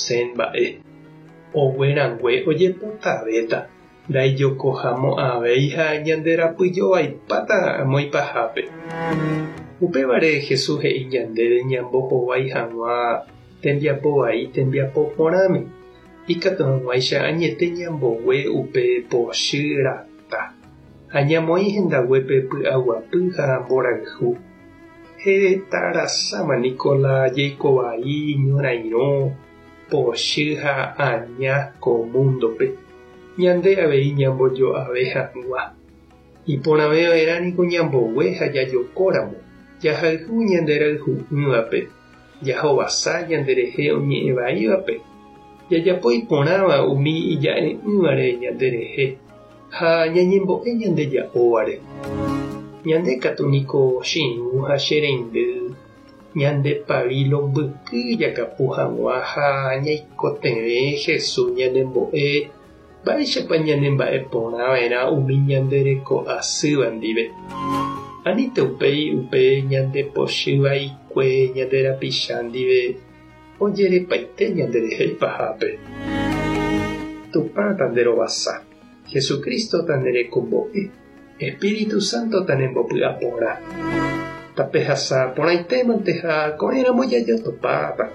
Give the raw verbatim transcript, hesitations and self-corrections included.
osẽ mba'e. Oguerangue ojepotavéta, ndaijokohamo'ãvéi ha ñanderapyjovaipáta amo ipahápe. Upévare Jesús he'i ñandéve ñambohovái hag̃ua tembiapo vai tembiapo porãme, ikatu hag̃uáicha añete ñambogue upe pochy rata ha ñamoĩ hendaguépe py'aguapy ha mborayhu. Hetarasáma niko la jeikovai ñorairõ, pochy ha aña ko múndope. Ñande avei ñambojo'ave hag̃ua. Iporãveva'erã niko ñambogue ha jajokóramo, jahayhu ñanderayhu'ỹvape, jahovasa ñanderehe oñe'ẽvaívape, jajapo iporãva umi ija'e'ỹvare ñanderehe ha ñañembo'e ñandeja'óvare. Ñande katu niko che irũ ha che reindy ñande pavilo mbyky jakapu hag̃ua ha ñaikotevẽ Jesús ñanembo'e mba'éichapa ñanemba'eporãva'erã umi ñandereko'asýva ndive. Anínte upéi upe ñandepochyvaikue ñande rapicha ndive ojerepaite ñanderehe ipahápe. Tupã tanderovasa, Jesucristo tanderekombo'e, Espíritu Santo tanembopy'aporã. Tapehasa porãitémante ha ko'ẽramo jajotopáta.